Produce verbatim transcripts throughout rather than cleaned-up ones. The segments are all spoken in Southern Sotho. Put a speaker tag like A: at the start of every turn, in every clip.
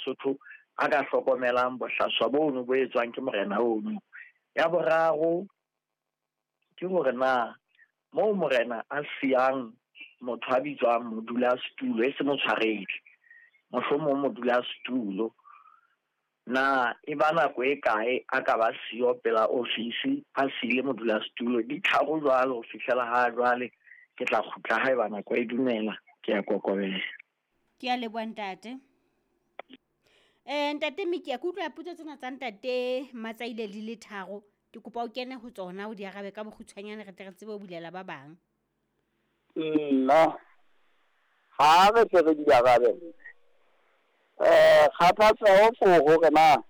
A: Basotho a ka hlokomelang bohlaswa bono bo etswang ke morena ono. Ya boraro ke hore na moo morena a siyang motho a bitswang modulasetulo e se motshwaredi, mohlomong modulasetulo, na e ba nako e kae a ka ba siyo pela ofisi a siile modulasetulo? Di tharo jwalo ho fihlela ha jwale. Ke tla kgutla haeba nako e dumela. Ke a kokobela.
B: Ke a leboha ntate. Eh ntate Miki, ke utlwa potso tsena tsa ntate Matsaile di le tharo. Ke kopa o kene ho tsona o di arabe ka bokgutshwanyane re tle re tsebe ho bulela ba bang.
C: Nna ha re tle re di arabe. Eh kgathatseho ko hore na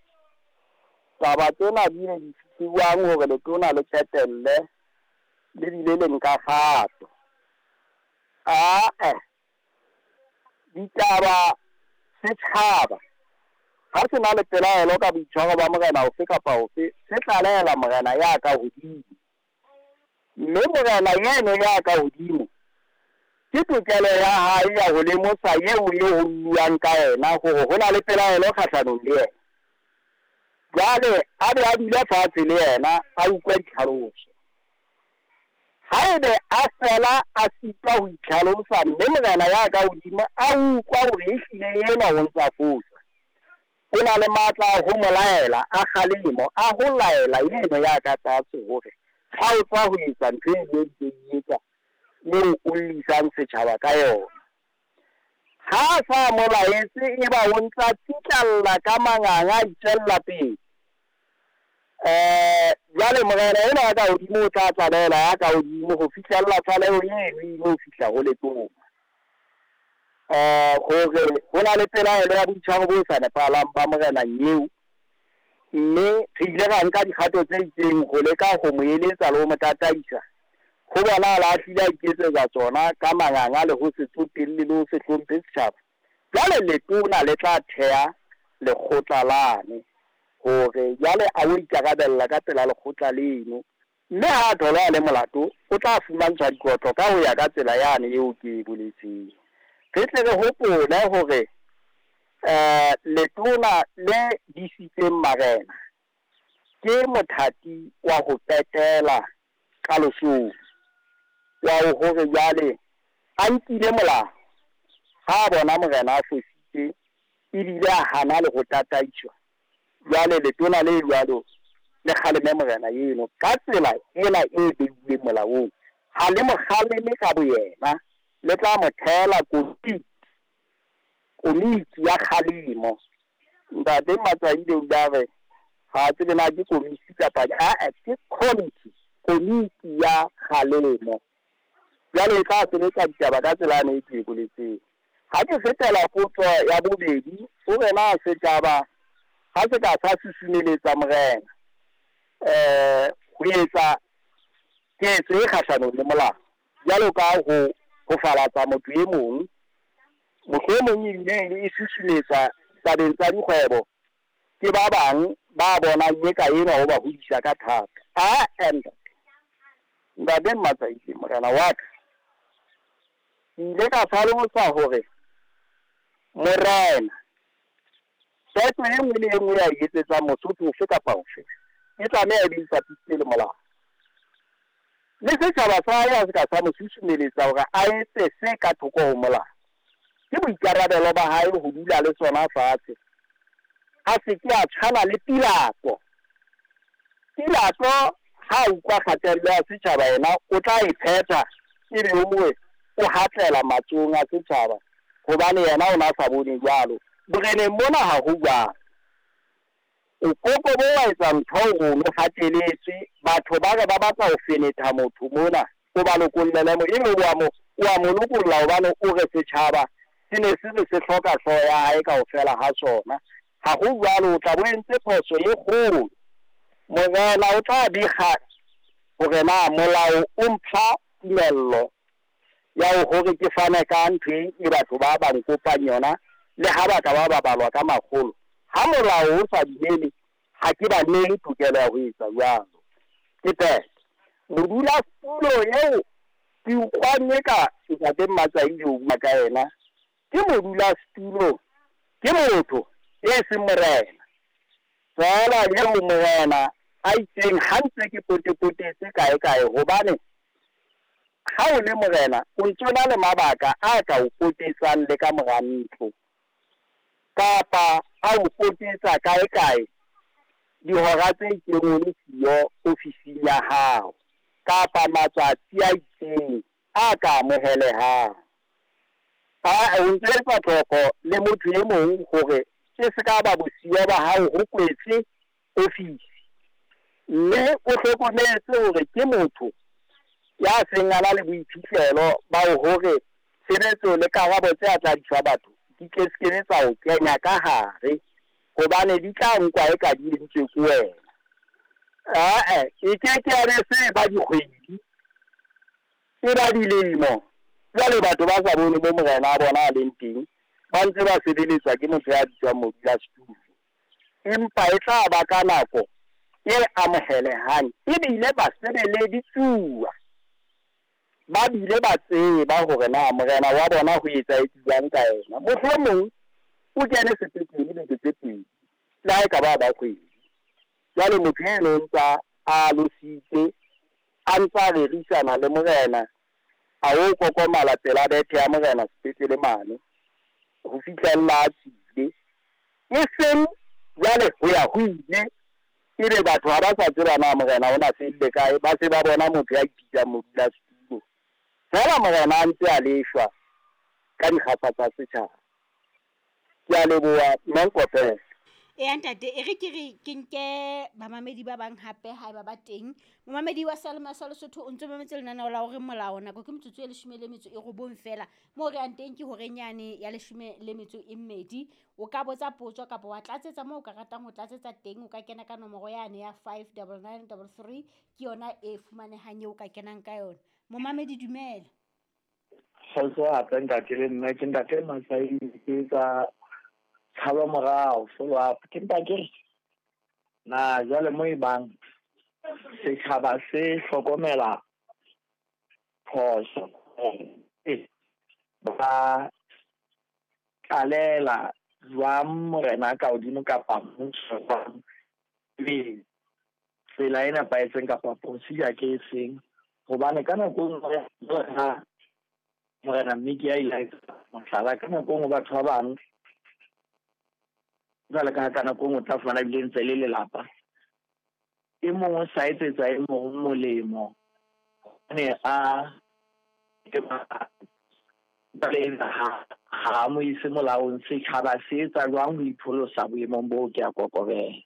C: taba tsena di ne di fihlwang hore letona le qetelle le bile le nka kgato. Ah eh ditaba setjhaba ha se na le pelaelo ka boitshwaro ba morena ofe kapa ofe, se tlalehela morena ya ka hodimo. Mme morena yeno ya ka hodimo ke tokelo ya hae ya ho lemosa eo le ho buang ka yena hore ho na le pelaelo kgahlanong le yena. Jwale a be a dule fatshe le yena a utlwe ditlhaloso. Haebe a fela a sitwa ho itlhalosa mme morena ya ka hodimo a utlwa hore ehlile enwa o ntsa fosa, o na le matla a ho mo laela, a kgalemo, a ho laela eno ya ka tlase hore kgaotsa ho etsa ntho e ntse e etsa eo o llisang setjhaba ka yona. Ha a sa mo laetse, eba o ntsa tsitlalla ka manganga a itswella pele. Eh jwale morena enwa ya ka hodimo o tla tlalehela ya ka hodimo ho fihlella tlaleho eno e ile ho fihla ho letona. Eh hore ho na le pelaelo ya boitshwaro bo sa nepahalang ba morena eo, mme re ile ra nka dikgato tse itseng ho leka ho mo eletsa le ho mo tataisa. Ho bonahala a hlile a iketsetsa tsona ka manganga le ho se tsotelle le ho se hlomphe setjhaba. Jwale letona le tla theha lekgotla lane hore jwale a o ikarabella ka pela lekgotla leno, mme ha a thola a le molato o tla fumantshwa dikotlo ka ho ya ka tsela yane eo ke e boletseng. Re tle re hopole hore eh letona le disitseng marena ke mothati wa ho qetela kalosong wa hore jwale a nkile molao ha a bona morena a fositse ebile a hana le ho tataiswa. Jwale letona le jwalo le kgaleme morena eno ka tsela ena e beilweng molaong. Ha le mo kgaleme ka boyena, le tla mo theela komiti, komiti ya kgalemo. Ntate Matsaile o ile a re ha a tsebe na ke komiti kapa a ke committee, komiti ya kgalemo. Jwale e tla sebetsa ditaba ka tsela ane e ke e boletseng. Ha ke fetela potso ya bobedi, o re na setjhaba ha se ka sa susumeletsa morena eh ho etsa ketso e kgahlanong le molao, jwalo ka ho ho falatsa motho e mong, mohlomong ebile e susumetsa tabeng tsa dikgwebo ke ba bang ba bonang eka enwa ho ba hodisa ka thata. A ntate, ntate Matsaile morena wa ka, ke ile ka hlalosa hore morena qeto e nngwe le e nngwe ya e etsetsang Mosotho ofe kapa ofe e tlameha e be ipapisitse le molao. Le setjhaba sa hae ha se ka sa mo susumeletsa hore a etse se ka thoko ho molao. Ke boikarabelo ba hae ho dula le sona fatshe, a se ke a tshwana le Pilato. Pilato ha a utlwa kgatello ya setjhaba yena o tla e phetha, ebe o mongwe o hatlela matsohong a setjhaba hobane yena o na sa bone jwalo. Boreneng mona ha ho jwalo. O koko bo wa etsa ntho o no hateletswe, batho ba re ba batla ho fenetha motho mona, o ba lokollele mo, ebe o a mo, o a mo lokolla hobane o re setjhaba se ne se re se hloka hlooho ya hae kaofela ha sona. Ha ho jwalo, o tla bo entse phoso e kgolo. Morena o tla bega hore na molao o mpha tumello ya hore ke fane ka ntho e batho ba ba nkopang yona, le ha ba ka ba ba balwa ka makgolo. Ha molao o sa dumele, ha ke ba nehe tokelo ya ho etsa jwalo. Ke phetho. Modulasetulo eo ke utlwang eka ntate Matsaile o bua ka yena, ke modulasetulo, ke motho E seng morena feela eo morena a itseng ha ntse ke potepotetse kae kae, hobane ha o le morena o ntso na le mabaka a ka o potetsang le ka mora ntlo kapa a o potetsa kae kae dihora tse itseng o le siyo ofising ya hao kapa matsatsi a itseng a ka amohelehang. A o ntse etsa tlhoko le motho e mong hore e se ka ba bosiyo ba hao ho kwetse ofisi, mme o hlokometse hore ke motho ya seng a na le boiphihlelo ba hore tshebetso le karabo tse a tla di fa batho di ke se ke tsa o kenya ka hare, hobane di tla nkwa e ka di entswe ke wena. Ae, e ke ke ya be se ba dikgwedi e ba dilemo. Jwale batho ba sa bone mo morena a bona a leng teng, ba ntse ba sebeletswa ke motho ya bitswang modulasetulo, empa e tla ba ka nako e amohelehang ebile ba sebeleditsuwa ba bile ba tseba hore na morena wa bona ho etsahetse jwang ka yena. Mohlomong o kene sepetlele beke tse pedi le ha e ka ba ba kgwedi. Jwale motho eno o ntsa a lositse a ntsa rerisana le morena, a o kokomala pela bethe ya morena sepetlele mane ho fihlella a tswile. E seng jwale ho ya ho ile ebe batho ha ba sa tseba na morena o na felle kae, ba se ba bona motho ya ipitsang modulasetulo feela morena a ntse a leshwa ka dikgapha tsa setjhaba. Ke a leboha mme Nkopela.
B: E ntate, e re ke re ke nke bamamedi ba bang hape haeba ba teng. Momamedi wa Salema sa Lesotho o ntso mametse lenaneo la hore molao nako ke metsotso e leshome le metso e robong feela. Moo re yang teng ke horeng yane ya leshome le metso e mmedi. O ka botsa potso kapa wa tlatsetsa moo o ka ratang ho tlatsetsa teng. O ka kena ka nomoro yane ya five double nine double three, ke yona e fumanehang eo o ka kenang ka yona. Momamedi dumela.
A: Kgotso hape ntate le mme, ke ntate Masai ke tsa tshaba morao follow up. Ke mpa ke re na jwale mo e bang setjhaba se hlokomela phoso ba tlalela jwang morena ka hodimo kapa mmuso jwang, ebe tsela e nepahetseng kapa procedure ke e seng, hobane ka nako e nngwe ha morena Mmiki a ile a etsa mohlala, ka nako e nngwe batho ba bang jwale ka ka nako e nngwe o tla fumana ebile ntse le lelapa, e mong o sa etsetsa e mong molemo hobane a ha ha mo ise molaong. Setjhaba se etsa jwang ho ipholosa boemong boo? Ke a kokobela.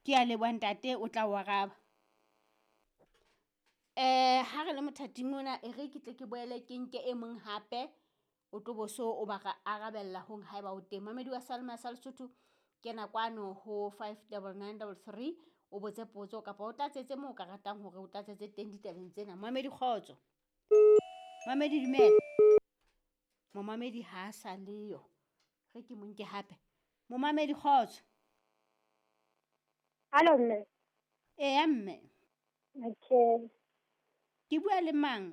B: Ke a leboha ntate, o tla o araba. Eh ha re le mothating ona, e re ke tle ke boele ke nke e mong hape o tlo bo so o ba arabella hong haeba o teng. Mamedi wa Salema sa Lesotho, kena kwano ho five double nine double three o botse potso kapa o tlatsetse moo o ka ratang hore o tlatsetse teng ditabeng tsena. Mamedi kgotso. Mamedi dumela. Momamedi ha a sa leyo. Re ke mo nke hape. Momamedi kgotso.
D: Hallo mme.
B: Eya mme.
D: Okay.
B: Ke bua le mang?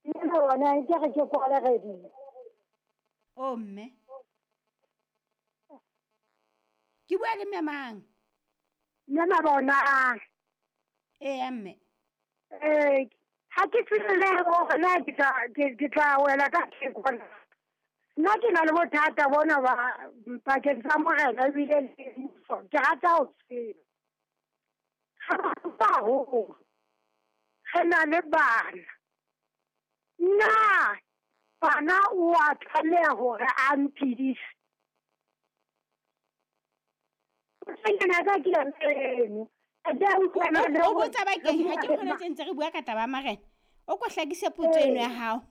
D: Nna bona ke re ke kwala radio.
B: Oh mme. Ke bua le mme mang?
D: Mme Mabona.
B: Eya mme.
D: Eh, ha ke tsebe le hore na ke tla ke tla wela ka theko. Nna ke na le bothata bona ba pakeng tsa morena ebile le mmuso. Ke rata ho tseba. Ha ho re na le bana. Nna bana o a tlameha hore a mphedise. Nna ka ke yona eno.
B: O botsa bakeng ha ke kgone tse ntse re bua ka taba ya marena. O ko hlakise potso eno ya hao.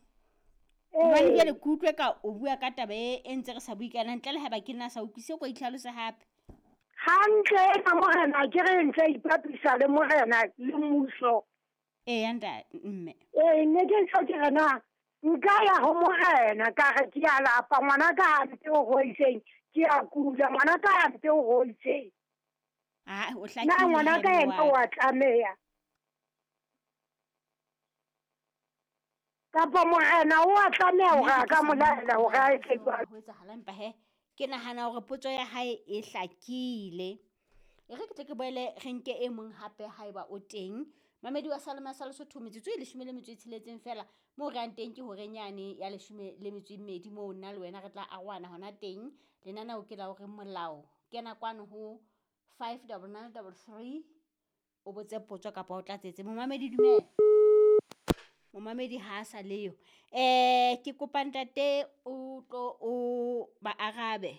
B: Hobane jwale ke utlwe ka o bua ka taba e e ntse re sa bue ka yona ntle le haeba ke nna sa utlwisise, o ko itlhalose hape.
D: Hantle ena morena ke re ntse ipapisa le morena le mmuso.
B: Eya ntate mme.
D: Ee, ne ke ntse ke re na nka ya ho morena ka re ke a lapa ngwana ka hampe o hoitseng, ke a kula ngwana ka hampe o hoitseng.
B: Ah, o hlakile.
D: Na ngwana ka yena wa tlameha. Kapa morena o a tlameha hore a ka mo laela hore a etse jwalo.
B: Ho etsahala empa he Ke nahana hore potso ya hae e hlakile. E re ke tle ke boele re nke e mong hape haeba o teng. Mamedi wa Salema sa Lesotho, metsotso e leshome le metso e tsheletseng feela moo re yang teng ke horeng yane ya leshome le metso e mmedi, moo nna le wena re tla arohana hona teng. Lenaneo ke la hore molao. Kena kwano ho five double nine double three o botse potso kapa o tlatsetse. Momamedi dumela. Momamedi ha a sa leyo. Eh ke kopa ntate o tlo o ba arabe.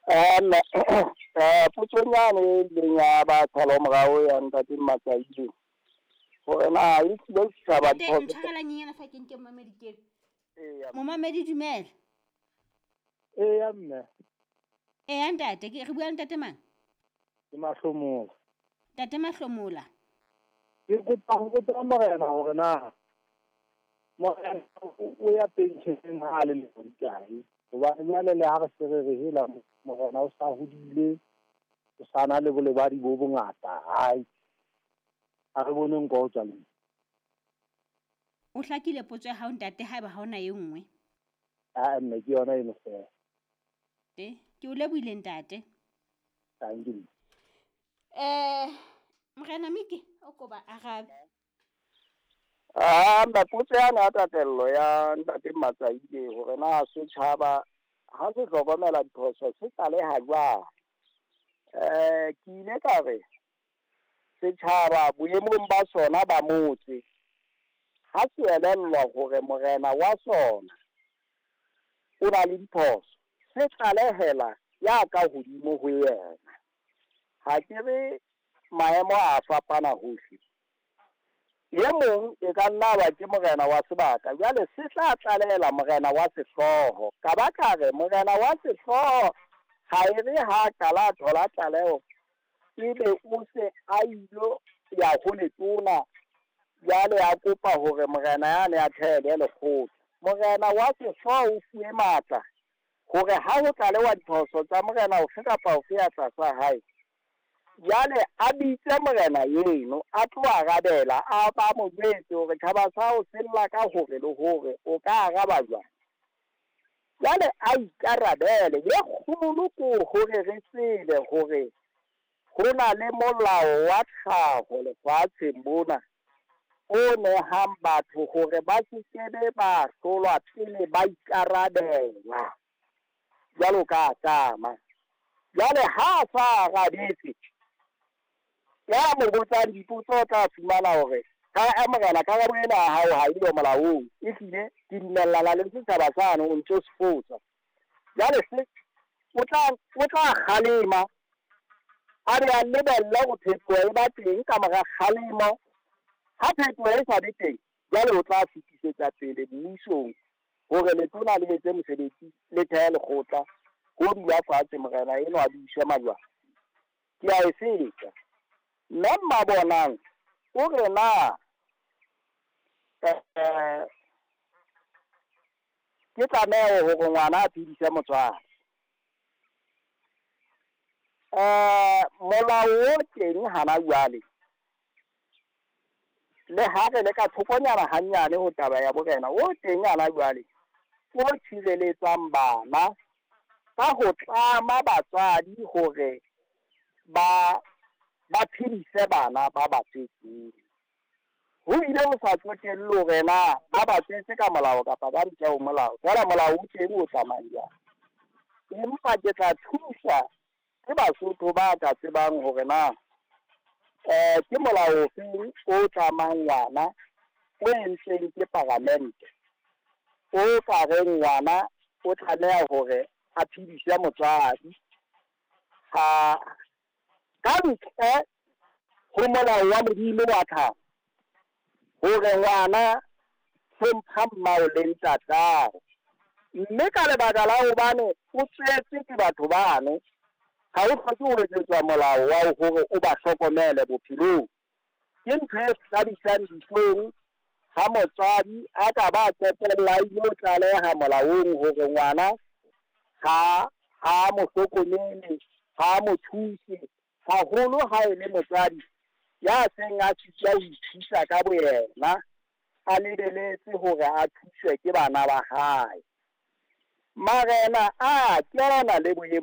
C: Eh mme eh potsonyane e ileng ya ba tshalo morao ya ntate Matsaile hore na e tlile setjhaba
B: Ntate,
C: diphoso.
B: ntshwarela nyenyana fa ke nke momamedi ke.
C: Eya.
B: Momamedi dumela.
E: Eya mme.
B: Eya ntate, ke re bua le ntate mang?
E: Ke Mahlomola.
B: Ntate Mahlomola.
E: Ke kopa ho botsa morena hore na morena o ya pension ha a le lemo di kae? Hobane jwale le ha re se re re hela morena o sa hodile, o sa na le bolebadi bo bongata. Hai, ha re bone nko ho tswa leng.
B: O hlakile potso ya hao ntate, haeba ha hona e nngwe.
E: Ah, mme ke yona eno feela.
B: Te, ke o lebohile ntate.
E: Thank you.
B: Eh, morena Miki, o ko ba arabe.
C: Ah, mma potso yana ya tatello ya ntate Matsaile hore na setjhaba ha se hlokomela diphoso se tlaleha jwang. Eh, ke ile ka re setjhaba boemong ba sona ba motse ha se elellwa hore morena wa sona o na le diphoso, se tlalehela ya ka hodimo ho yena. Ha ke re maemo a fapana hohle. E mong e ka nna ba ke morena wa sebaka, jwale se tla tlalehela morena wa sehlooho. Ka ba ka re morena wa sehlooho ha e re ha qala thola tlaleho, ebe o se a ilo ya ho letona, jwale a kopa hore morena yane a theele lekgotla. Morena wa sehlooho o fuwe matla hore ha ho tlalewa diphoso tsa morena ofe kapa ofe ya tlasa hae, jwale a bitse morena eno a tlo arabela, a ba mo jwetse hore tjhaba sa hao se lla ka hore le hore o ka araba jwang. Jwale a ikarabele. E kgolo ke hore re tsebe hore ho na le molao wa tlhaho lefatsheng mona o nehang batho hore ba se kebe ba hlolwa pele ba ikarabela jwalo ka Adama. Jwale ha a sa arabetse, ya mo botsang dipotso o tla fumana hore ka morena karabo ena ya hao ha eyo molaong, ehlile ke dumellana le setjhaba sane o ntso se fosa. Jwale se o tla o tla kgalema, a be a lebelle hore phetoho e ba teng ka mora kgalemo. Ha phetoho e sa be teng, jwale o tla fetisetsa pele mmusong hore letona le etse mosebetsi, le thehe lekgotla ho dula fatshe morena enwa a buise majwala. Ke a e fetsa. Mme Mmabonang o re na eh ke tlameho hore ngwana a phedise motswadi. Eh molao o teng hana jwale, le ha re le ka thokonyana hanyane ho taba ya borena, o teng hana jwale o tshireletsang bana ka ho tlama batswadi hore ba ba phedise bana ba ba tswetseng. Ho ile ho sa tsotelle hore na ba ba tswetse ka molao kapa ka ntle ho molao, feela molao o teng o tsamayang jwang. Empa ke tla thusa ke Basotho ba ka tsebang hore na eh ke molao ofe o tlamang ngwana o entsweng ke paramente o ka reng ngwana o tlameha hore a phedise motswadi. Ha ka ntle ho molao wa Modimo wa tlhaho hore ngwana hlompha mmao le ntatao, mme ka lebaka la hobane o tswetse ke batho bano, ha o hloke ho etsetswa molao wa hore o ba hlokomele bophelong. Ke ntho e hlabisang dihlong ha motswadi a ka ba qetella a ilo tlaleha molaong hore ngwana ha ha mo hlokomele, ha mo thuse, haholo ha e le motswadi ya seng a sitwa ho ithusa ka boyena, a lebeletse hore a thuswe ke bana ba hae. Marena a kena le boemo